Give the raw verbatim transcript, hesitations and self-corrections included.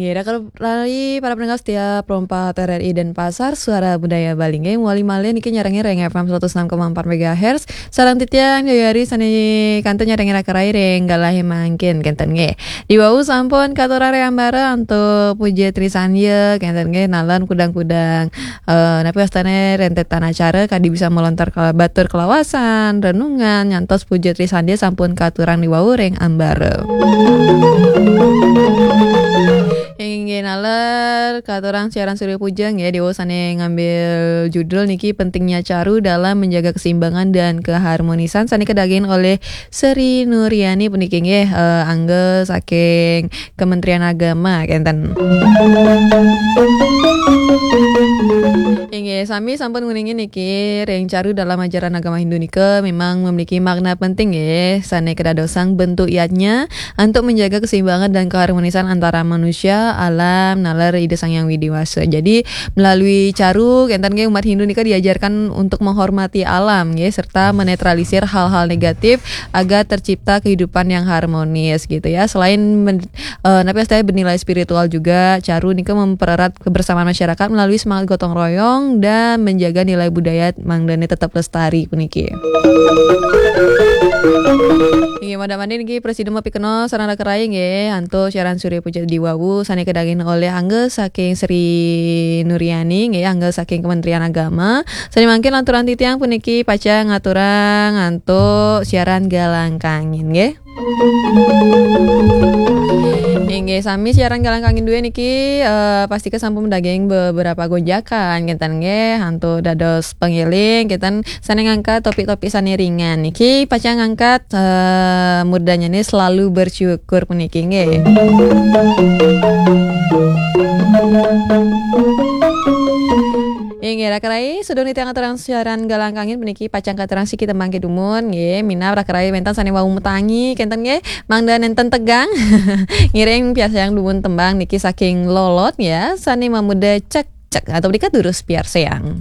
Ya, rai para pendengar setia Pro empat R R I Denpasar, Suara Budaya Bali. Nggih, wali malih niki nyarengin ring F M seratus enam koma empat megahertz. Sareng titiang Joyari sane kantun nyarengin raka rai ring galahe mangkin kenten nggih. Diwau sampun katurang ring ambara antuk puja trisandya kenten nggih, nalar kudang-kudang, eh, napi wastane rentetan acara kadi bisa melontar ke batur kelawasan, renungan, nyantos puja trisandya sampun katurang diwau ring ambara. Inggih nalar katurang siaran Surya Puja nggih, diwau sane ngambil judul niki pentingnya caru dalam menjaga keseimbangan dan keharmonisan sane kadaging oleh Sri Nuryani puniki nggih, eh, angga saking Kementerian Agama kenten. Inggih, sami sampun nguningin niki ring caru dalam ajaran agama Hindu nika memang memiliki makna penting nggih, sane kadadosang bentuk yadnya untuk menjaga keseimbangan dan keharmonisan antara manusia, alam, nalar Ida Sang Hyang Widi Wasa. Jadi melalui caru kenten nggih umat Hindu nika diajarkan untuk menghormati alam nggih serta menetralisir hal-hal negatif agar tercipta kehidupan yang harmonis gitu ya. Selain men- eh, napi wastane bernilai spiritual juga, caru nika mempererat kebersamaan masyarakat melalui semangat gotong royong dan menjaga nilai budaya mangdane tetap lestari puniki. Inggih, mangda mangkin niki prasida mapikenoh sareng raka rai nggih, antuk siaran Surya Puja diwau sane kadaging oleh angga saking Sri Nuryani nggih, angga saking Kementerian Agama. Sane mangkin lanturang titiang puniki pacang ngaturang antuk siaran Galang Kangin nggih. Inggih, sami siaran Galang Kangin duwe niki, eh, pastika sampun daging beberapa gonjakan kenten nggih, antuk dados pangeling kenten sane ngangkat topik-topik sane ringan niki pacang ngangkat, eh, murdanyane selalu bersyukur puniki nggih. Inggih, raka rai, sedurung titiang ngaturang siaran Galang Kangin puniki pacang katurang siki tembang kedumun nggih, minab raka rai wenten sane wau matangi kenten nggih, mangda nenten tegang. Ngiring piarsayang dumun tembang niki saking Lolot ya, sane mamurda Cek Cek atau berikat durus piarsayang.